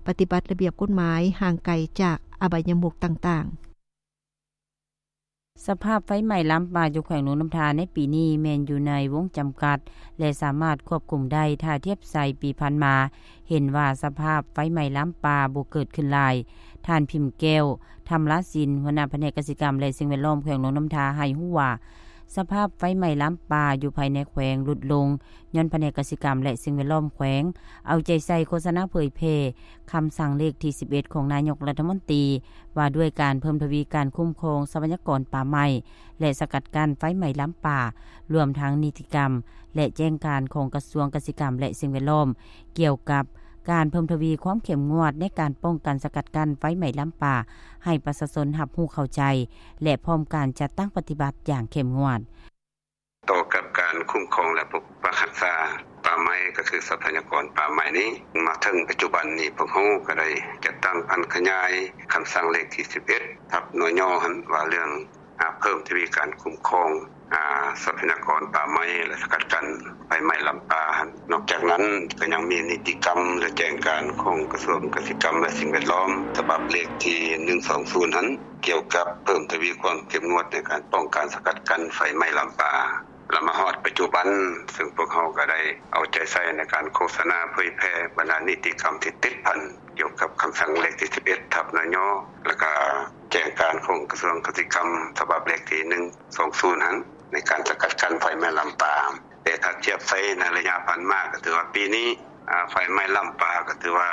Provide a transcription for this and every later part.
ປະຕິບັດລະບຽບກົດໝາຍ ຫ່າງໄກຈາກອະບາຍມຸກຕ່າງໆ. ສະພາບໄຟໄໝ້ລາມປ່າຢູ່ແຂວງຫຼວງນ້ຳທາໃນປີນີ້ແມ່ນຢູ່ໃນວົງຈຳກັດ ແລະ ສາມາດຄວບຄຸມໄດ້ ຖ້າທຽບໃສ່ປີຜ່ານມາ ເຫັນວ່າສະພາບໄຟໄໝ້ລາມປ່າບໍ່ເກີດຂຶ້ນຫຼາຍ. ທ່ານ ພິມແກ້ວ ທຳລາສິນ ຫົວໜ້າພະແນກກະສິກຳ ແລະ ສິ່ງແວດລ້ອມແຂວງຫຼວງນ້ຳທາ ໃຫ້ຮູ້ວ່າ ສະພາບໄຟໄໝ້ລາມປ່າຢູ່ພາຍໃນແຂວງຫຼຸດລົງ ຍ້ອນພະແນກກະສິກຳ ແລະ ສິ່ງແວດລ້ອມແຂວງ ເອົາໃຈໃສ່ໂຄສະນາເຜີຍແຜ່ຄຳສັ່ງເລກທີສິບເອັດ ຂອງນາຍົກລັດຖະມົນຕີ ວ່າດ້ວຍການເພີ່ມທະວີການຄຸ້ມຄອງຊັບພະຍາກອນປ່າໄມ້ ແລະ ສະກັດກັ້ນໄຟໄໝ້ລາມປ່າ, ລວມທັງນິຕິກຳ ແລະ ແຈ້ງການຂອງກະຊວງກະສິກຳ ແລະ ສິ່ງແວດລ້ອມ ກ່ຽວກັບການເພີ່ມທະວີຄວາມເຂັ້ມງວດໃນການປ້ອງກັນສະກັດກັ້ນໄຟໄໝ້ລາມປ່າ ໃຫ້ປະຊາຊົນຮັບຮູ້ເຂົ້າໃຈ ແລະ ພ້ອມການຈັດຕັ້ງປະຕິບັດຢ່າງເຂັ້ມງວດ. ຕໍ່ກັບການຄຸ້ມຄອງ ແລະ ປົກປັກຮັກສາປ່າໄມ້ ກໍຄືຊັບພະຍາກອນປ່າໄມ້ນີ້ ມາເຖິງປັດຈຸບັນນີ້ ພວກເຮົາກໍໄດ້ຈັດຕັ້ງຜັນຂະຫຍາຍຄຳສັ່ງເລກທີສິບເອັດ ທັບ ນຍ ຫັ້ນ ວ່າເລື່ອງ ອາ ເພີ່ມທະວີການຄຸ້ມຄອງ ອາ ຊັບພະຍາກອນປ່າໄມ້ ແລະ ສະກັດກັ້ນໄຟໄໝ້ລາມປ່າຫັ້ນ. ນອກຈາກນັ້ນ ກໍຍັງມີນິຕິກຳ ແລະ ແຈ້ງການຂອງກະຊວງກະສິກຳ ແລະ ສິ່ງແວດລ້ອມ ສະບັບເລກທີໜຶ່ງສອງສູນຫັ້ນ ກ່ຽວກັບເພີ່ມທະວີຄວາມເຂັ້ມງວດໃນການປ້ອງກັນສະກັດກັ້ນໄຟໄໝ້ລາມປ່າ ລະມາຮອດປັດຈຸບັນ, ເຊິ່ງພວກເຮົາກໍໄດ້ເອົາໃຈໃສ່ໃນການໂຄສະນາເຜີຍແຜ່ບັນດານິຕິກຳທີ່ຕິດພັນກ່ຽວກັບຄຳສັ່ງເລກທີສິບເອັດ ທັບ ນຍ ແລ້ວກະແຈ້ງການຂອງກະຊວງກະສິກຳ ສະບັບເລກທີໜຶ່ງສອງສູນຫັ້ນ ໃນການສະກັດກັ້ນໄຟໄໝ້ລາມປ່າ. ແຕ່ຖ້າທຽບໃສ່ໃນໄລຍະຜ່ານມາ ກໍຖືວ່າປີນີ້ ອາ ໄຟໄໝ້ລາມປ່າ ກໍຖືວ່າ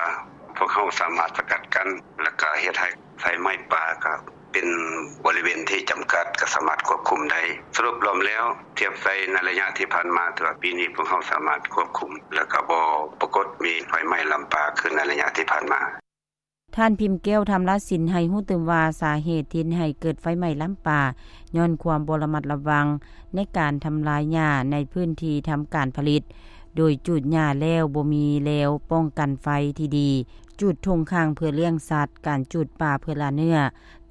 ພວກເຮົາສາມາດສະກັດກັ້ນ ແລ້ວກະເຮັດໃຫ້ໄຟໄໝ້ປ່າ ກໍເປັນບໍລິເວນທີ່ຈຳກັດ ກໍສາມາດຄວບຄຸມໄດ້. ສະຫຼຸບລວມແລ້ວ ທຽບໃສ່ໃນໄລຍະທີ່ຜ່ານມາ ຖືວ່າປີນີ້ພວກເຮົາສາມາດຄວບຄຸມ ແລ້ວກໍບໍ່ປາກົດມີໄຟໄໝ້ລາມປ່າຄືໃນໄລຍະທີ່ຜ່ານມາ. ທ່ານ ພິມແກ້ວ ທຳລາສິນ ໃຫ້ຮູ້ຕື່ມວ່າ ສາເຫດທີ່ເຮັດໃຫ້ເກີດໄຟໄໝ້ລາມປ່າ ຍ້ອນຄວາມບໍ່ລະມັດລະວັງໃນການທຳລາຍຫຍ້າໃນພື້ນທີ່ທຳການຜະລິດ, ໂດຍຈູດຫຍ້າແລ້ວບໍ່ມີແລວປ້ອງກັນໄຟທີ່ດີ, ຈູດທົ່ງຂ້າງເພື່ອລ້ຽງສັດ, ການຈູດປ່າເພື່ອລ່າເນື້ອ,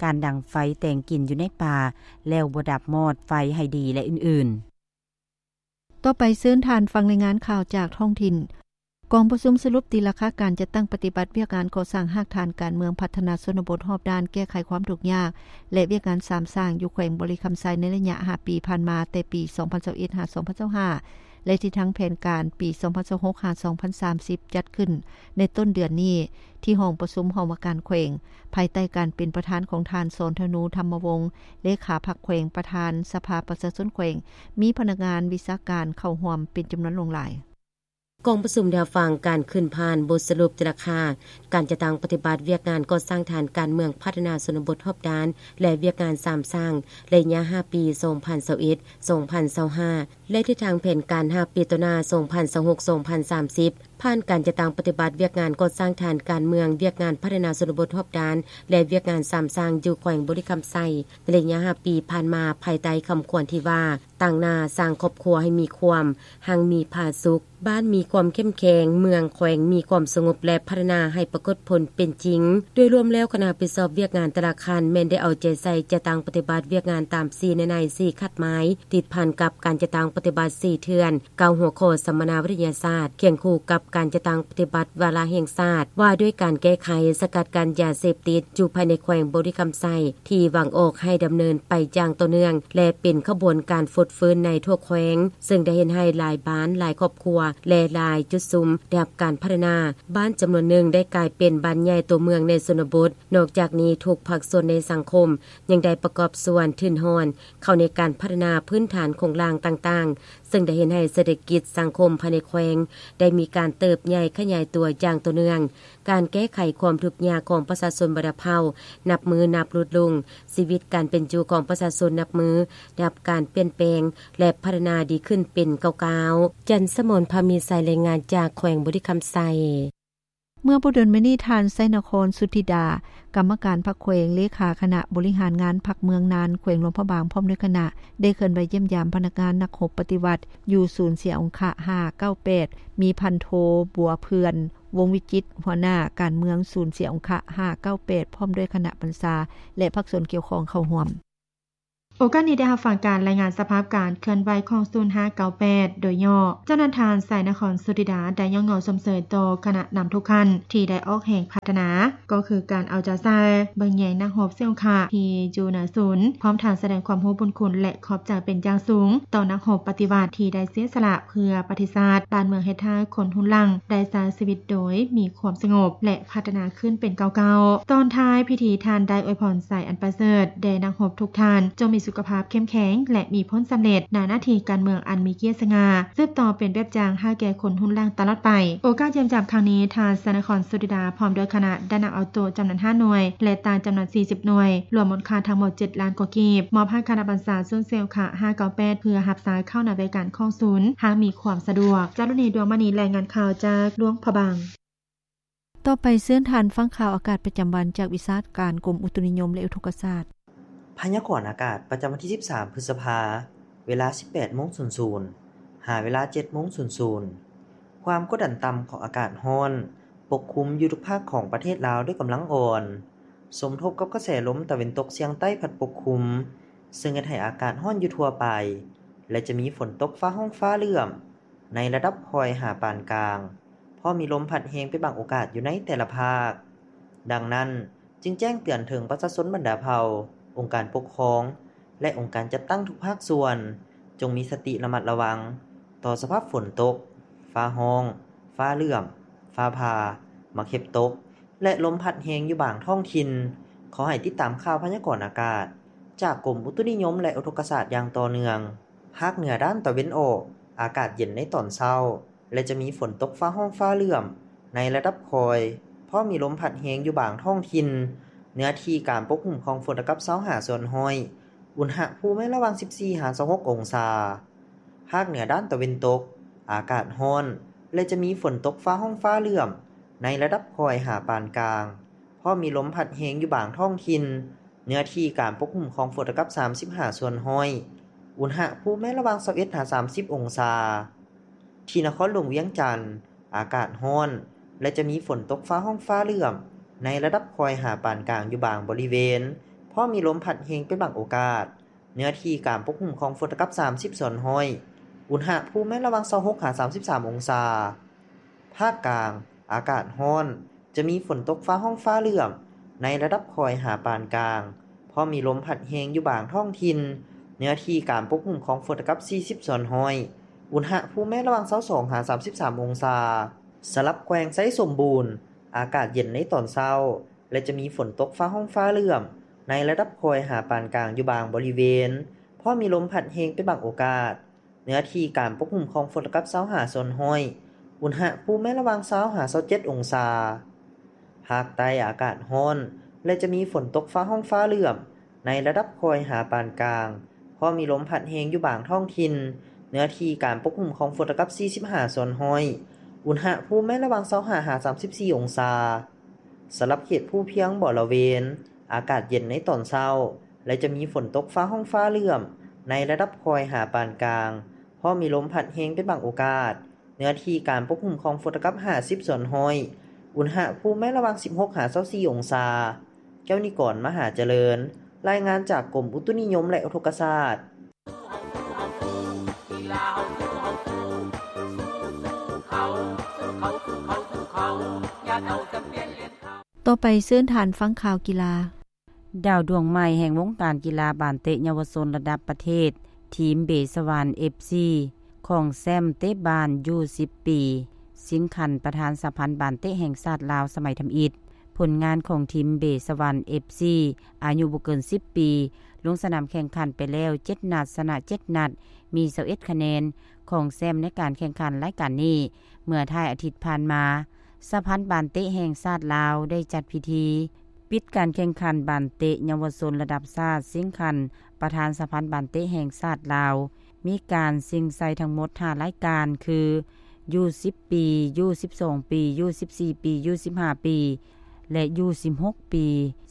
ການດັງໄຟແຕງກິ່ນຢູ່ໃນປ່າແລ້ວບໍ່ດັບມອດໄຟໃຫ້ດີ ແລະ ອື່ນໆ. ຕໍ່ໄປເຊີນທ່ານຟັງລາຍງານຂ່າວຈາກທ້ອງຖິ່ນ. ກອງປະຊຸມສະຫຼຸບຕີລາຄາການຈັດຕັ້ງປະຕິບັດວຽກງານກໍ່ສ້າງຮາກຖານການເມືອງພັດທະນາຊົນນະບົດຮອບດ້ານແກ້ໄຂຄວາມທຸກຍາກ ແລະ ວຽກງານສາມສ້າງຢູ່ແຂວງບໍລິຄຳໄຊໃນໄລຍະຫ້າປີຜ່ານມາ ແຕ່ປີສອງພັນຊາວເອັດ ຫາ ສອງພັນຊາວຫ້າ ແລະ ທິດທາງແຜນການປີສອງພັນຊາວຫົກ ຫາ ສອງພັນສາມສິບ ຈັດຂຶ້ນໃນຕົ້ນເດືອນນີ້ ທີ່ຫ້ອງປະຊຸມຫ້ອງວ່າການແຂວງ ພາຍໃຕ້ການເປັນປະທານຂອງທ່ານ ສອນທະນູ ທຳມະວົງ ເລຂາພັກແຂວງ, ປະທານສະພາປະຊາຊົນແຂວງ, ມີພະນັກງານວິຊາການເຂົ້າຮ່ວມເປັນຈຳນວນຫຼວງຫຼາຍ. ກອງປະຊຸມໄດ້ຮັບຟັງການຂຶ້ນຜ່ານບົດສະຫຼຸບແຕ່ລາຄາການຈັດຕັ້ງປະຕິບັດວຽກງານກໍ່ສ້າງຖານການເມືອງພັດທະນາຊົນນະບົດຮອບດ້ານ ແລະ ວຽກງານສາມສ້າງໄລຍະຫ້າປີ ສອງພັນຊາວເອັດ ສອງພັນຊາວຫ້າ ແລະ ທິດທາງແຜນການຫ້າປີຕໍ່ໜ້າ ສອງພັນຊາວຫົກ ສອງພັນສາມສິບ ຜ່ານການຈັດຕັ້ງປະຕິບັດວຽກງານກໍ່ສ້າງຖານການເມືອງ, ວຽກງານພັດທະນາຊົນນະບົດຮອບດ້ານ ແລະ ວຽກງານສາມສ້າງຢູ່ແຂວງບໍລິຄຳໄຊ ໃນໄລຍະຫ້າປີຜ່ານມາ ພາຍໃຕ້ຄຳຂວັນທີ່ວ່າ ຕັ້ງໜ້າສ້າງຄອບຄົວໃຫ້ມີຄວາມຮັ່ງມີຜາສຸກ, ບ້ານມີຄວາມເຂັ້ມແຂງ, ເມືອງແຂວງມີຄວາມສະຫງົບ ແລະ ພັດທະນາໃຫ້ປາກົດຜົນເປັນຈິງ. ໂດຍລວມແລ້ວ, ຄະນະຮັບຜິດຊອບວຽກງານແຕ່ລະຂັ້ນແມ່ນໄດ້ເອົາໃຈໃສ່ຈັດຕັ້ງປະຕິບັດວຽກງານຕາມສີ່ແນວໃນ, ສີ່ຄາດໝາຍ, ຕິດພັນກັບການຈັດຕັ້ງປະຕິບັດສີ່ເທື່ອນ, ເກົ້າຫົວຂໍ້ສຳມະນາວິທະຍາສາດ, ຄຽງຄູ່ກັບການຈັດຕັ້ງປະຕິບັດວາລະແຫ່ງຊາດ ວ່າດ້ວຍການແກ້ໄຂສະກັດກັ້ນຢາເສບຕິດ ຢູ່ພາຍໃນແຂວງບໍລິຄຳໄຊ ທີ່ວາງອອກໃຫ້ດຳເນີນໄປຢ່າງຕໍ່ເນື່ອງ ແລະ ເປັນຂະບວນການຟົດຟື້ນໃນທົ່ວແຂວງ, ເຊິ່ງໄດ້ເຮັດໃຫ້ຫຼາຍບ້ານ, ຫຼາຍຄອບຄົວ ແລະ ຫຼາຍຈຸດຊຸມໄດ້ຮັບການພັດທະນາ. ບ້ານຈຳນວນໜຶ່ງໄດ້ກາຍເປັນບ້ານໃຫຍ່ຕົວເມືອງໃນຊົນນະບົດ. ນອກຈາກນີ້, ທຸກພາກສ່ວນໃນສັງຄົມຍັງໄດ້ປະກອບສ່ວນທຶນຮອນເຂົ້າໃນການພັດທະນາພື້ນຖານໂຄງລ່າງຕ່າງໆ, ເຊິ່ງໄດ້ເຮັດໃຫ້ເສດຖະກິດສັງຄົມພາຍໃນແຂວງໄດ້ມີການເຕີບໃຫຍ່ຂະຫຍາຍຕົວຢ່າງຕໍ່ເນື່ອງ. ການແກ້ໄຂຄວາມທຸກຍາກຂອງປະຊາຊົນບັນດາເຜົ່າ ນັບມື້ນັບຫຼຸດລົງ, ຊີວິດການເປັນຢູ່ຂອງປະຊາຊົນນັບມື້ໄດ້ຮັບການປ່ຽນແປງ ແລະ ພັດທະນາດີຂຶ້ນເປັນກ້າວໆ. ຈັນສະໝອນ ພາມີໄຊ, ລາຍງານຈາກແຂວງບໍລິຄຳໄຊ. ເມື່ອບໍ່ດົນມານີ້, ທ່ານ ໄຊນະຄອນ ສຸທິດາ, ກຳມະການພັກແຂວງ, ເລຂາຄະນະບໍລິຫານງານພັກເມືອງນານ, ແຂວງຫຼວງພະບາງ, ພ້ອມດ້ວຍຄະນະ ໄດ້ເຄື່ອນໄຫວຢ້ຽມຢາມພະນັກງານນັກຮົບປະຕິວັດ ຢູ່ສູນເສຍອົງຄະຫ້າເກົ້າແປດ, ມີພັນໂທ ບົວເພື່ອນ ວົງວິຈິດ, ຫົວໜ້າການເມືອງສູນເສຍອົງຄະຫ້າເກົ້າແປດ ພ້ອມດ້ວຍຄະນະບັນຊາ ແລະ ພາກສ່ວນກ່ຽວຂ້ອງເຂົ້າຮ່ວມ. ໄປ ໂອກາດນີ້ໄດ້ຮັບຟັງການລາຍງານສະພາບການເຄື່ອນໄຫວຂອງສູນຫ້າເກົ້າແປດ ໂດຍຫຍໍ້. ເຈົ້ານັ້ນທ່ານ ໄຊນະຄອນ ສຸດທິດາ ໄດ້ຍ້ອງຍໍຊົມເຊີຍຕໍ່ຄະນະນຳທຸກຂັ້ນທີ່ໄດ້ອອກແຮງພັດທະນາ ກໍຄືການເອົາໃຈໃສ່ເບິ່ງແຍງນັກຮົບເຊວຂະທີ່ຢູ່ເໜືອສູນ, ພ້ອມທັງສະແດງຄວາມຮູ້ບຸນຄຸນ ແລະ ຂອບໃຈເປັນຢ່າງສູງຕໍ່ນັກຮົບປະຕິວັດທີ່ໄດ້ເສຍສະຫຼະເພື່ອປະເທດຊາດບ້ານເມືອງ ເຮັດໃຫ້ຄົນຮຸ່ນຫຼັງໄດ້ໃຊ້ຊີວິດໂດຍມີຄວາມສະຫງົບ ແລະ ພັດທະນາຂຶ້ນເປັນກ້າວໆ. ຕອນທ້າຍພິທີ ທ່ານໄດ້ອວຍພອນໄຊອັນປະເສີດແດ່ນັກຮົບທຸກທ່ານ, ຈົ່ງມີສຸຂະພາບເຂັ້ມແຂງ ແລະ ມີຜົນສຳເລັດໃນໜ້າທີ່ການເມືອງອັນມີກຽດສະຫງ່າ, ສືບຕໍ່ເປັນແບບຢ່າງໃຫ້ແກ່ຄົນຮຸ່ນຫຼັງຕະຫຼອດໄປ. ໂອກາດຢ້ຽມຢາມຄັ້ງນີ້, ທ່ານ ໄຊນະຄອນ ສຸດທິດາ ພ້ອມດ້ວຍຄະນະ ໄດ້ນຳເອົາໂຕະຈຳນວນຫ້າໜ່ວຍ ແລະ ຕ່າງຈຳນວນສີ່ສິບໜ່ວຍ, ລວມມູນຄ່າທັງໝົດເຈັດລ້ານກວ່າກີບ, ມອບໃຫ້ຄະນະບັນຊາສູນເຊວຂະຫ້າເກົ້າແປດ ເພື່ອຮັບໃຊ້ເຂົ້າໃນບລິການຂອງສູນ ຫາກມີຄວາມສະດວກ. ຈາລຸນີ ດວງມະນີ ລາຍງານຂ່າວຈາກຫຼວງພະບາງ. ຕໍ່ໄປເຊີນທ່ານຟັງຂ່າວອາກາດປະຈຳວັນຈາກວິຊາການກົມອຸຕຸນິຍົມ ແລະ ອຸທົກກະສາດ. ພະຍາກອນອາກາດປະຈຳວັນທີສິບສາມ ພຶດສະພາ, ເວລາສິບແປດໂມງສູນສູນ ຫາເວລາເຈັດໂມງສູນສູນ. ຄວາມກົດດັນຕ່ຳຂອງອາກາດຮ້ອນປົກຄຸມຢູ່ທຸກພາກຂອງປະເທດລາວດ້ວຍກຳລັງອ່ອນ, ສົມທົບກັບກະແສລົມຕາເວັນຕົກສຽງໃຕ້ພັດປົກຄຸມ, ເຊິ່ງເຮັດໃຫ້ອາກາດຮ້ອນຢູ່ທົ່ວໄປ ແລະ ຈະມີຝົນຕົກຟ້າຮ້ອງຟ້າເຫຼື້ອມ ໃນລະດັບຄ່ອຍຫາປານກາງ, ພ້ອມມີລົມພັດແຮງເປັນບາງໂອກາດຢູ່ໃນແຕ່ລະພາກ. ດັ່ງນັ້ນ, ຈຶ່ງແຈ້ງເຕືອນເຖິງປະຊາຊົນບັນດາເຜົ່າ, ອົງການປົກຄອງ ແລະ ອົງການຈັດຕັ້ງທຸກພາກສ່ວນ, ຈົ່ງມີສະຕິລະມັດລະວັງຕໍ່ສະພາບຝົນຕົກ, ຟ້າຮ້ອງ, ຟ້າເຫຼື້ອມ, ຟ້າຜ່າ, ໝາກເຫັບຕົກ ແລະ ລົມພັດແຮງຢູ່ບາງທ້ອງຖິ່ນ. ຂໍໃຫ້ຕິດຕາມຂ່າວພະຍາກອນອາກາດຈາກກົມອຸຕຸນິຍົມ ແລະ ອຸທົກກະສາດຢ່າງຕໍ່ເນື່ອງ. ພາກເໜືອດ້ານຕາເວັນອອກ, ອາກາດເຢັນໃນຕອນເຊົ້າ ແລະ ຈະມີຝົນຕົກຟ້າຮ້ອງຟ້າເຫຼື້ອມໃນລະດັບຄ່ອຍ, ພ້ອມມີລົມພັດແຮງຢູ່ບາງທ້ອງຖິ່ນ. ເນື້ອທີ່ການປົກຄຸມຂອງຝົນເທົ່າກັບຊາວຫ້າສ່ວນຮ້ອຍ, ອຸນຫະພູມໃນລະຫວ່າງສິບສີ່ຫາຊາວຫົກອົງສາ. ພາກເໜືອດ້ານຕາເວັນຕົກ, ອາກາດຮ້ອນ ແລະ ຈະມີຝົນຕົກຟ້າຮ້ອງຟ້າເຫຼື້ອມໃນລະດັບຄ່ອຍຫາປານກາງ, ພ້ອມມີລົມພັດແຮງຢູ່ບາງທ້ອງຖິ່ນ. ເນື້ອທີ່ການປົກຄຸມຂອງຝົນເທົ່າກັບສາມສິບຫ້າສ່ວນຮ້ອຍ, ອຸນຫະພູມໃນລະຫວ່າງຊາວເອັດຫາສາມສິບອົງສາ. ທີ່ນະຄອນຫຼວງວຽງຈັນ, ອາກາດຮ້ອນ ແລະ ຈະມີຝົນຕົກຟ້າຮ້ອງຟ້າເຫຼື້ອມໃນລະດັບຄ່ອຍຫາປານກາງຢູ່ບາງບໍລິເວນ, ພ້ອມມີລົມພັດແຮງເປັນບາງໂອກາດ. ເນື້ອທີ່ການປົກຄຸມຂອງຝົນເທົ່າກັບສາມສິບສ່ວນຮ້ອຍ, ອຸນຫະພູມໃນລະຫວ່າງຊາວຫົກຫາສາມສິບສາມອົງສາ. ພາກກາງ, ອາກາດຮ້ອນ, ຈະມີຝົນຕົກຟ້າຮ້ອງຟ້າເຫຼື້ອມໃນລະດັບຄ່ອຍຫາປານກາງ, ພ້ອມມີລົມພັດແຮງຢູ່ບາງທ້ອງຖິ່ນ. ເນື້ອທີ່ການປົກຄຸມຂອງຝົນເທົ່າກັບສີ່ສິບສ່ວນຮ້ອຍ, ອຸນຫະພູມໃນລະຫວ່າງຊາວສອງຫາສາມສິບສາມອົງສາ. ສຳລັບແຂວງໄຊສົມບູນ, ອາກາດເຢັນໃນຕອນເຊົ້າ ແລະ ຈະມີຝົນຕົກຟ້າຮ້ອງຟ້າເຫຼື້ອມໃນລະດັບຄ່ອຍຫາປານກາງຢູ່ບາງບໍລິເວນ, ພ້ອມມີລົມພັດແຮງເປັນບາງໂອກາດ. ເນື້ອທີ່ການປົກຄຸມຂອງຝົນເທົ່າກັບຊາວຫ້າສ່ວນຮ້ອຍ, ອຸນຫະພູມໃນລະຫວ່າງຊາວຫາຊາວເຈັດອົງສາ. ພາກໃຕ້ອາກາດຮ້ອນ ແລະ ຈະມີຝົນຕົກຟ້າຮ້ອງຟ້າເຫຼື້ອມໃນລະດັບຄ່ອຍຫາປານກາງ, ພໍມີລົມພັດແຮງຢູ່ບາງທ້ອງຖິ່ນ. ເນື້ອທີ່ການປົກຄຸມຂອງຝົນເທົ່າກັບສີ່ສິບຫ້າສ່ວນຮ້ອຍ, ອຸນຫະພູມໃນລະຫວ່າງຊາວຫ້າຫາສາມສິບສີ່ອົງສາ. ສຳລັບເຂດພູພຽງບໍລະເວນ, ອາກາດເຢັນໃນຕອນເຊົ້າ ແລະ ຈະມີຝົນຕົກຟ້າຮ້ອງຟ້າເຫຼື້ອມໃນລະດັບຄ່ອຍຫາປານກາງ, ພໍມີລົມພັດແຮງເປັນບາງໂອກາດ. ເນື້ອທີ່ການປົກຄຸມຂອງຝົນເທົ່າກັບຫ້າສິບສ່ວນຮ້ອຍ, ອຸນຫະພູມໃນລະຫວ່າງສິບຫົກຫາຊາວສີ່ອົງສາ. ແກ້ວນິກອນ ມະຫາຈະເລີນ, ລາຍງານຈາກກົມອຸຕຸນິຍົມ ແລະ ອຸທົກກະສາດ. ຕໍ່ໄປເຊີນທ່ານຟັງຂ່າວກິລາ. ດາວດວງໃໝ່ແຫ່ງວົງການກິລາບານເຕະເຍົາວະຊົນລະດັບປະເທດ ທີມເບສະຫວັນ ເອັຟຊີ ຄອງແຊ້ມເຕະບານຢູສິບປີ ຊິງຂັນປະທານສະຫະພັນບານເຕະແຫ່ງຊາດລາວສະໄໝທຳອິດ. ຜົນງານຂອງທີມເບສະຫວັນ ເອັຟຊີ ອາຍຸບໍ່ເກີນສິບປີ ລົງສະໜາມແຂ່ງຂັນໄປແລ້ວເຈັດນັດ, ຊະນະເຈັດນັດ, ມີຊາວເອັດຄະແນນ, ຄອງແຊ້ມໃນການແຂ່ງຂັນລາຍການນີ້ ເມື່ອທ້າຍອາທິດຜ່ານມາ. ສະຫະພັນບານເຕະແຫ່ງຊາດລາວໄດ້ຈັດພິທີປິດການແຂ່ງຂັນບານເຕະເຍົາວະຊົນລະດັບຊາດຊິງຂັນປະທານສະຫະພັນບານເຕະແຫ່ງຊາດລາວ. ມີການຊິງໄຊທັງໝົດຫ້າລາຍການ ຄື ຢູສິບປີ, ຢູສິບສອງປີ, ຢູສິບສີ່ປີ, ຢູສິບຫ້າປີ ແລະ ຢູສິບຫົກປີ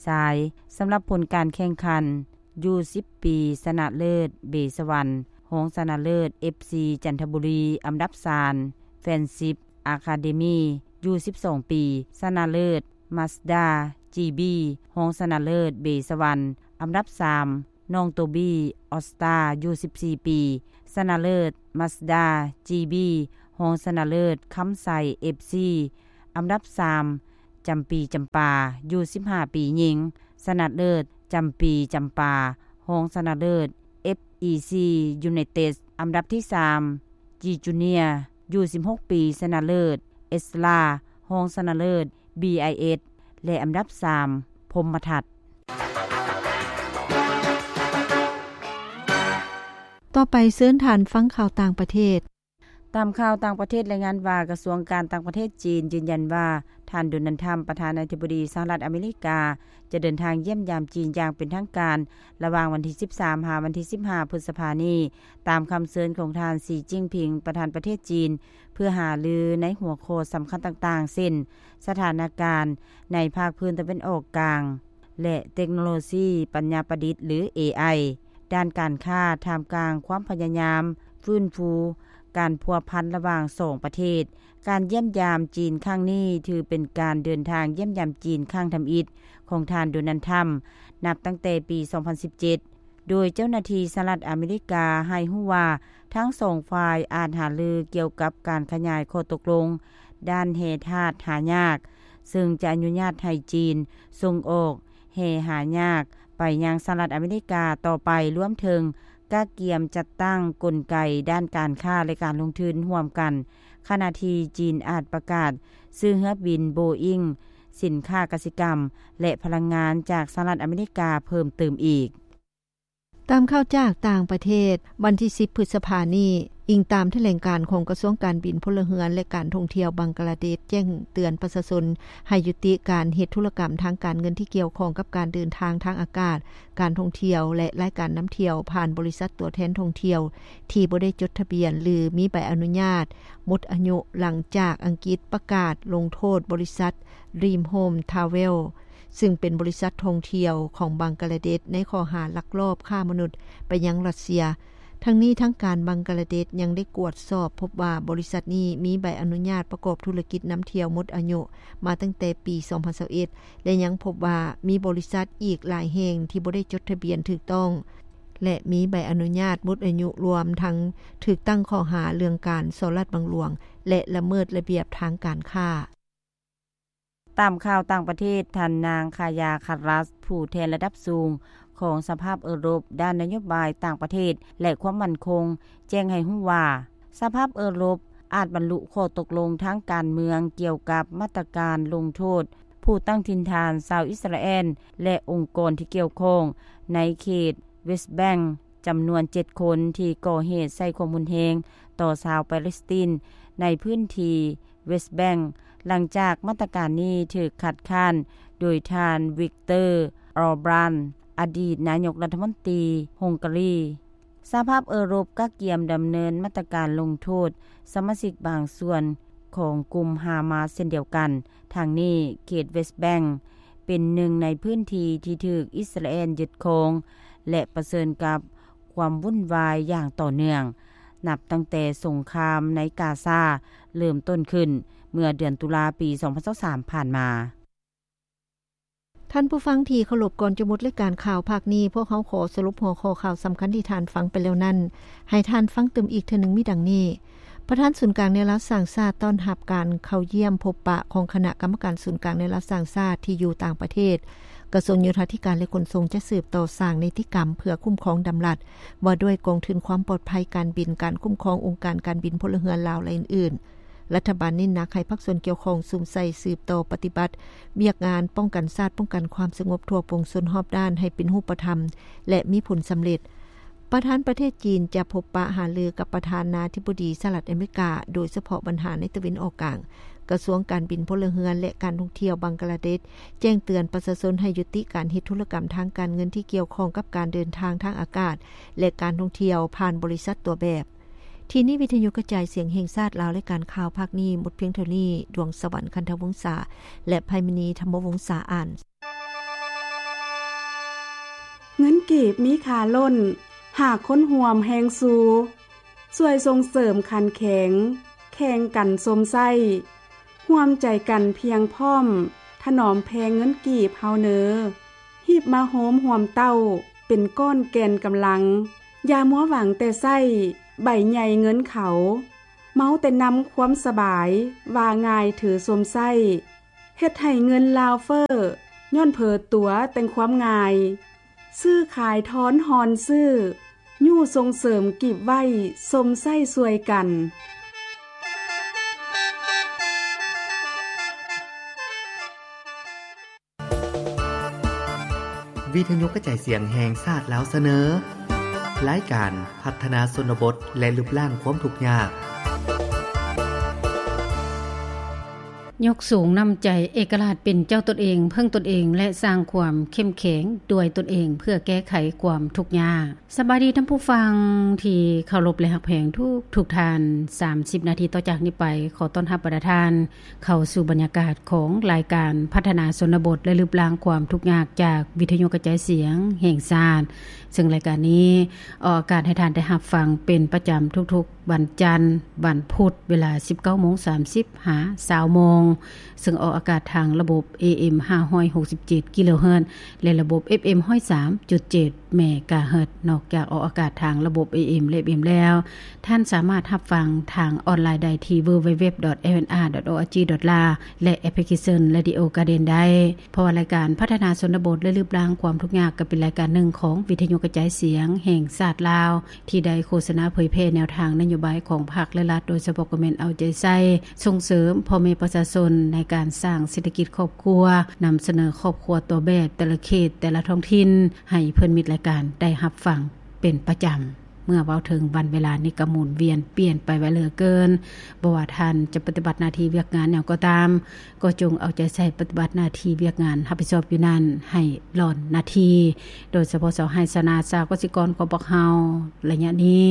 ຊາຍ. ສຳລັບຜົນການແຂ່ງຂັນ, ຢູສິບປີ ຊະນະເລີດ ເບສະຫວັນ, ຮອງຊະນະເລີດ ເອັຟຊີ ຈັນທະບູລີ ອັນດັບສາມ, ແຟນຊິບ ອາຄາເດມີ ຢູສິບສອງປີ ຊະນະເລີດ ມາສດາ ຈີບີ ຮອງຊະນະເລີດ ເບສະຫວັນ ອັນດັບສາມ, ໂປ ນ້ອງໂຕບີ ອອສຕາ ຢູ່ສິບສີ່ປີ ຊະນະເລີດ ມາສດາ ຈີບີ ຮອງຊະນະເລີດ ຄຳໄຊ ເອັຟຊີ ອັນດັບສາມ ຈຳປີ ຈຳປາ ຢູ່ສິບຫ້າປີຍິງ ຊະນະເລີດ ຈຳປີ ຈຳປາ ຮອງຊະນະເລີດ ເອັຟອີຊີ ຢູໄນເຕັດ ອັນດັບທີສາມ ຈີຈູເນຍ ຢູ່ສິບຫົກປີ ຊະນະເລີດ ເອສລາ ຮອງຊະນະເລີດ ບີໄອເອັສ ແລະ ອັນດັບສາມ ພົມມະທັດ. ຕໍ່ໄປເຊີນທ່ານຟັງຂ່າວຕ່າງປະເທດ. ຕາມຂ່າວຕ່າງປະເທດລາຍງານວ່າ ກະຊວງການຕ່າງປະເທດຈີນຢືນຢັນວ່າ ທ່ານ ໂດນັລ ທຣຳ ປະທານາທິບໍດີສະຫະລັດອາເມລິກາ ຈະເດີນທາງຢ້ຽມຢາມຈີນຢ່າງເປັນທາງການ ລະຫວ່າງວັນທີສິບສາມ ຫາວັນທີສິບຫ້າ ພຶດສະພານີ້ ຕາມຄຳເຊີນຂອງທ່ານ ສີ ຈິ້ນຜິງ ປະທານປະເທດຈີນ ເພື່ອຫາລືໃນຫົວຂໍ້ສຳຄັນຕ່າງໆ ເຊັ່ນ ສະຖານະການໃນພາກພື້ນຕາເວັນອອກກາງ ແລະ ເຕັກໂນໂລຊີປັນຍາປະດິດ ຫຼື ເອໄອ ດ້ານການຄ້າ ທ່າມກາງຄວາມພະຍາຍາມຟື້ນຟູການພົວພັນລະຫວ່າງສອງປະເທດ. ການຢ້ຽມຢາມຈີນຄັ້ງນີ້ ຖືເປັນການເດີນທາງຢ້ຽມຢາມຈີນຄັ້ງທຳອິດຂອງທ່ານ ໂດນັລ ທຣຳ ນັບຕັ້ງແຕ່ປີສອງພັນສິບເຈັດ ໂດຍເຈົ້າໜ້າທີ່ສະຫະລັດອາເມລິກາໃຫ້ຮູ້ວ່າ ທັງສອງຝ່າຍອາດຫາລືກ່ຽວກັບການຂະຫຍາຍຂໍ້ຕົກລົງດ້ານແຮ່ທາດຫາຍາກ ເຊິ່ງຈະອະນຸຍາດໃຫ້ຈີນສົ່ງອອກແຮ່ຫາຍາກໄປຍັງສະຫະລັດອາເມລິກາຕໍ່ໄປ, ລວມເຖິງກະກຽມຈັດຕັ້ງກົນໄກດ້ານການຄ້າ ແລະ ການລົງທຶນຮ່ວມກັນ, ຂະນະທີ່ຈີນອາດປະກາດຊື້ເຮືອບິນໂບອິງ, ສິນຄ້າກະສິກຳ ແລະ ພະລັງງານຈາກສະຫະລັດອາເມລິກາເພີ່ມເຕີມອີກ. ຕາມຂ່າວຈາກຕ່າງປະເທດ, ວັນທີສິບ ພຶດສະພານີ້, ອີງຕາມຖະແຫຼງການຂອງກະຊວງການບິນ, ພົນລະເຮືອນ ແລະ ການທ່ອງທ່ຽວບັງກະລາເດດ ແຈ້ງເຕືອນປະຊາຊົນໃຫ້ຍຸຕິການເຮັດທຸລະກຳທາງການເງິນທີ່ກ່ຽວຂ້ອງກັບການເດີນທາງທາງອາກາດ, ການທ່ອງທ່ຽວ ແລະ ລາຍການນຳທ່ຽວຜ່ານບໍລິສັດຕົວແທນທ່ອງທ່ຽວທີ່ບໍ່ໄດ້ຈົດທະບຽນ ຫຼື ມີໃບອະນຸຍາດໝົດອາຍຸ ຫຼັງຈາກອັງກິດປະກາດລົງໂທດບໍລິສັດ Dream Home Travel ຊຶ່ງເປັນບໍລິສັດທ່ອງທ່ຽວຂອງບັງກະລາເດດ ໃນຂໍ້ຫາລັກລອບຄ້າມະນຸດໄປຍັງຣັດເຊຍ. ທັງນີ້, ທາງການບັງກະລາເດດຍັງໄດ້ກວດສອບພົບວ່າ ບໍລິສັດນີ້ມີໃບອະນຸຍາດປະກອບທຸລະກິດນຳທ່ຽວໝົດອາຍຸມາຕັ້ງແຕ່ປີສອງພັນຊາວເອັດ ແລະ ຍັງພົບວ່າມີບໍລິສັດອີກຫຼາຍແຫ່ງທີ່ບໍ່ໄດ້ຈົດທະບຽນຖືກຕ້ອງ ແລະ ມີໃບອະນຸຍາດໝົດອາຍຸ ລວມທັງຖືກຕັ້ງຂໍ້ຫາເລື່ອງການສໍ້ລາດບັງຫຼວງ ແລະ ລະເມີດລະບຽບທາງການຄ້າ. ຕາມຂ່າວຕ່າງປະເທດ, ທ່ານນາງ ຄາຢາ ຄາຣັສ ຜູ້ແທນລະດັບສູງຂອງສະພາເອີຣົບດ້ານນະໂຍບາຍຕ່າງປະເທດ ແລະ ຄວາມໝັ້ນຄົງ ແຈ້ງໃຫ້ຮູ້ວ່າ ສະພາເອີຣົບອາດບັນລຸຂໍ້ຕົກລົງທາງການເມືອງກ່ຽວກັບມາດຕະການລົງໂທດຜູ້ຕັ້ງຖິ່ນຖານຊາວອິດສະຣາແອນ ແລະ ອົງກອນທີ່ກ່ຽວຂ້ອງໃນເຂດເວສແບັງ ຈຳນວນເຈັດຄົນທີ່ກໍ່ເຫດໃຊ້ຄວາມຮຸນແຮງຕໍ່ຊາວປາເລສຕີນໃນພື້ນທີ່ເວສແບັງ ຫຼັງຈາກມາດຕະການນີ້ຖືກຄັດຄ້ານໂດຍທ່ານ ວິກເຕີ ອອບຣານ ອະດີດນາຍົກລັດຖະມົນຕີຮົງກາຣີ. ສະຫະພາບເອີຣົບກະກຽມດຳເນີນມາດຕະການລົງໂທດສະມາຊິກບາງສ່ວນຂອງກຸ່ມຮາມາສເຊັ່ນດຽວກັນ. ທັງນີ້, ເຂດເວສແບັງ ເປັນໜຶ່ງໃນພື້ນທີ່ທີ່ຖືກອິດສະຣາແອນຍຶດຄອງ ແລະ ປະເຊີນກັບຄວາມວຸ່ນວາຍຢ່າງຕໍ່ເນື່ອງ ນັບຕັ້ງແຕ່ສົງຄາມໃນກາຊາເລີ່ມຕົ້ນຂຶ້ນເມື່ອເດືອນຕຸລາປີສອງພັນຊາວສາມຜ່ານມາ. ທ່ານຜູ້ຟັງທີ່ເຄົາລົບ, ກ່ອນຈະໝົດລາຍການຂ່າວພາກນີ້, ພວກເຮົາຂໍສະຫຼຸບຫົວຂໍ້ຂ່າວສຳຄັນທີ່ທ່ານຟັງໄປແລ້ວນັ້ນ ໃຫ້ທ່ານຟັງຕື່ມອີກເທື່ອໜຶ່ງມີດັ່ງນີ້. ປະທານສູນກາງແນວລາວສ້າງຊາດຕ້ອນຮັບການເຂົ້າຢ້ຽມພົບປະຂອງຄະນະກຳມະການສູນກາງແນວລາວສ້າງຊາດທີ່ຢູ່ຕ່າງປະເທດ. ກະຊວງໂຍທາທິການ ແລະ ຂົນສົ່ງຈະສືບຕໍ່ສ້າງນິຕິກຳເພື່ອຄຸ້ມຄອງດຳລັດວ່າດ້ວຍກອງທຶນຄວາມປອດໄພການບິນ, ການຄຸ້ມຄອງອົງການການບິນພົນລະເຮືອນລາວ ແລະ ອື່ນໆ. ລັດຖະບານເນັ້ນໜັກໃຫ້ພາກສ່ວນກ່ຽວຂ້ອງສຸມໃສ່ສືບຕໍ່ປະຕິບັດວຽກງານປ້ອງກັນຊາດ, ປ້ອງກັນຄວາມສະຫງົບທົ່ວປວງຊົນຮອບດ້ານໃຫ້ເປັນຮູບປະທຳ ແລະ ມີຜົນສຳເລັດ. ປະທານປະເທດຈີນຈະພົບປະຫາລືກັບປະທານາທິບໍດີສະຫະລັດອາເມລິກາ, ໂດຍສະເພາະບັນຫາໃນຕາເວັນອອກກາງ. ກະຊວງການບິນ, ພົນລະເຮືອນ ແລະ ການທ່ອງທ່ຽວບັງກະລາເດດ ແຈ້ງເຕືອນປະຊາຊົນໃຫ້ຍຸຕິການເຮັດທຸລະກຳທາງການເງິນທີ່ກ່ຽວຂ້ອງກັບການເດີນທາງທາງອາກາດ ແລະ ການທ່ອງທ່ຽວຜ່ານບໍລິສັດຕົວແບບ. ທີ່ນີ້ວິທະຍຸກະຈາຍສຽງແຫ່ງຊາດລາວ, ລາຍການຂ່າວພາກນີ້ໝົດພຽງເທົ່ານີ້. ດວງສະຫວັນ ຄັນທະວົງສາ ແລະ ໄພມະນີ ທຳມະວົງສາອ່ານ. ເງິນກີບມີຄ່າລົ້ນ ຫາກຄົນຮ່ວມແຮງຊູ, ຊ່ວຍສົ່ງເສີມຂັນແຂງ, ແຂ່ງກັນຊົມໃຊ້, ຮ່ວມໃຈກັນພຽງພ້ອມ, ຖະໜອມແພງເງິນກີບເຮົາເນີ, ຮີບມາໂຮມຮ່ວມເຕົ້າ, ປັນກ້ອນແກ່ນກຳລັງ. ຢ່າມົວຫວັງແຕ່ໃຊ້ໃບໃຫຍ່ເງິນເຂົາ, ເມົາແຕ່ນຳຄວາມສະບາຍ, ວ່າງ່າຍຖືຊົມໃຊ້, ເຮັດໃຫ້ເງິນລາວເຟີ້, ຍ້ອນເຜີຕົວແຕ່ງຄວາມງ່າຍ. ຊື້ຂາຍທອນຮອນຊື້, ຍູ້ສົ່ງເສີມກີບໄວ້ຊົມໃຊ້ຊ່ວຍກັນ. ວິທະຍຸກະຈາຍສຽງແຫ່ງຊາດລາວສະເໜີ ລາຍການພັດທະນາຊົນນະບົດ ແລະ ລຶບລ້າງຄວາມທຸກຍາກ. ຍົກສູງນ້ຳໃຈເອກະລາດເປັນເຈົ້າຕົນເອງ, ເພິ່ງຕົນເອງ ແລະ ສ້າງຄວາມເຂັ້ມແຂງດ້ວຍຕົນເອງ ເພື່ອແກ້ໄຂຄວາມທຸກຍາກ. ສະບາຍດີທ່ານຜູ້ຟັງທີ່ເຄົາລົບ ແລະ ຮັກແພງທຸກທຸກທ່ານ. ສາມສິບນາທີຕໍ່ຈາກນີ້ໄປ, ຂໍຕ້ອນຮັບບັນດາທ່ານເຂົ້າສູ່ບັນຍາກາດຂອງລາຍການພັດທະນາຊົນນະບົດ ແລະ ລຶບລ້າງຄວາມທຸກຍາກ ຈາກວິທະຍຸກະຈາຍສຽງແຫ່ງຊາດ, ເຊິ່ງລາຍການນີ້ອອກອາກາດໃຫ້ທ່ານໄດ້ຮັບຟັງເປັນປະຈຳທຸກໆ ວັນຈັນ, ວັນພຸດ, ເວລາ ສິບເກົ້າໂມງສາມສິບ ຫາ ຊາວໂມງ, ເຊິ່ງອອກອາກາດທາງລະບົບ ເອເອັມ ຫ້າຮ້ອຍຫົກສິບເຈັດ ກິໂລເຮີດ ແລະ ລະບົບ ເອຟເອັມ ຮ້ອຍສາມຈຸດເຈັດ ເມກາເຮີດ. ນອກຈາກອອກອາກາດທາງລະບົບ ເອເອັມ ແລະ ເອຟເອັມ ແລ້ວ, ທ່ານສາມາດຮັບຟັງທາງອອນລາຍໄດ້ທີ່ www.lnr.org.la ແລະ ແອັບພລິເຄຊັນ Radio Garden ໄດ້. ເພາະວ່າລາຍການພັດທະນາຊົນນະບົດ ແລະ ລຶບລ້າງຄວາມທຸກຍາກ ກໍເປັນລາຍການໜຶ່ງຂອງວິທະຍຸກະຈາຍສຽງແຫ່ງຊາດລາວ ທີ່ໄດ້ໂຄສະນາເຜີຍແຜ່ແນວທາງນະໂຍບາຍຂອງພັກ ແລະ ລັດ, ໂດຍສະເພາະກໍແມ່ນເອົາໃຈໃສ່ສົ່ງເສີມພໍ່ແມ່ປະຊາຊົນໃນການສ້າງເສດຖະກິດຄອບຄົວ, ນຳສະເໜີຄອບຄົວຕົວແບບແຕ່ລະເຂດ, ແຕ່ລະທ້ອງຖິ່ນ ໃຫ້ເພື່ອນມິດລາຍການໄດ້ຮັບຟັງເປັນປະຈຳ. ເມື່ອເວົ້າເຖິງວັນເວລານີ້ກໍໝູນວຽນປ່ຽນໄປໄວເຫຼືອເກີນ. ບໍ່ວ່າທ່ານຈະປະຕິບັດໜ້າທີ່ວຽກງານຫຍັງກໍຕາມ, ກໍຈົ່ງເອົາໃຈໃສ່ປະຕິບັດໜ້າທີ່ວຽກງານຮັບຜິດຊອບຢູ່ນັ້ນໃຫ້ຫຼ້ອນນາທີ, ໂດຍສະເພາະຊາວໄຮ່ຊາວນາ, ຊາວກະສິກອນຂອງພວກເຮົາ ໄລຍະນີ້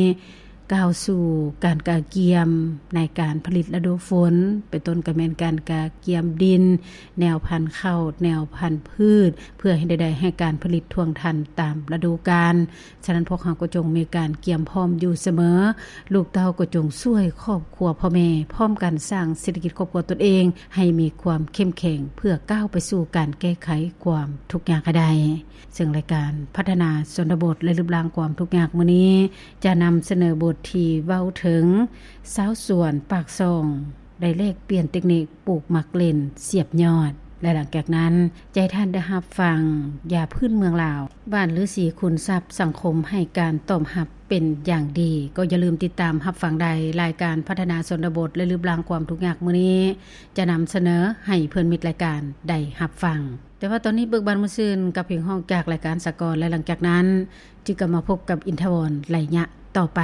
ກ້າວສູ່ການກະກຽມໃນການຜະລິດລະດູຝົນ, ເປັນຕົ້ນກໍແມ່ນການກະກຽມດິນ, ແນວພັນເຂົ້າ, ແນວພັນພືດ, ເພື່ອໃຫ້ໄດ້ ໄດ້ໃຫ້ການຜະລິດທ່ວງທັນຕາມລະດູການ. ສະນັ້ນ ພວກເຮົາກໍຈົ່ງມີການກຽມພ້ອມຢູ່ສະເໝີ. ລູກເຕົ້າກໍຈົ່ງຊ່ວຍຄອບຄົວພໍ່ແມ່ ພ້ອມກັນສ້າງເສດຖະກິດຄອບຄົວຕົນເອງໃຫ້ມີຄວາມເຂັ້ມແຂງ ເພື່ອກ້າວໄປສູ່ການແກ້ໄຂຄວາມທຸກຍາກໃຫ້ໄດ້. ເຊິ່ງລາຍການພັດທະນາຊົນນະບົດ ແລະ ລຶບລ້າງຄວາມທຸກຍາກມື້ນີ້ ຈະນຳສະເໜີບົດທີ່ເວົ້າເຖິງຊາວສວນປາກຊ່ອງ ໄດ້ແລກປ່ຽນເຕັກນິກປູກໝາກເລັ່ນສຽບຍອດ ແລະ ຫຼັງຈາກນັ້ນ ຈະໃຫ້ທ່ານໄດ້ຮັບຟັງຢາພື້ນເມືອງລາວ ບ້ານລືສີຄູນຊັບ. ສັງຄົມໃຫ້ການຕອບຮັບເປັນຢ່າງດີ. ກໍຢ່າລືມຕິດຕາມຮັບຟັງໄດ້. ລາຍການພັດທະນາຊົນນະບົດ ແລະ ລຶບລ້າງຄວາມທຸກຍາກມື້ນີ້ ຈະນຳສະເໜີໃຫ້ເພື່ອນມິດລາຍການໄດ້ຮັບຟັງ. ແຕ່ວ່າຕອນນີ້ເບີກບານມ່ວນຊື່ນກັບເພງຮ້ອງຈາກລາຍການສາກອນ ແລະ ຫຼັງຈາກນັ້ນ ຈຶ່ງກັບມາພົບກັບອິນທະວອນໄລຍະຕໍ່ໄປ.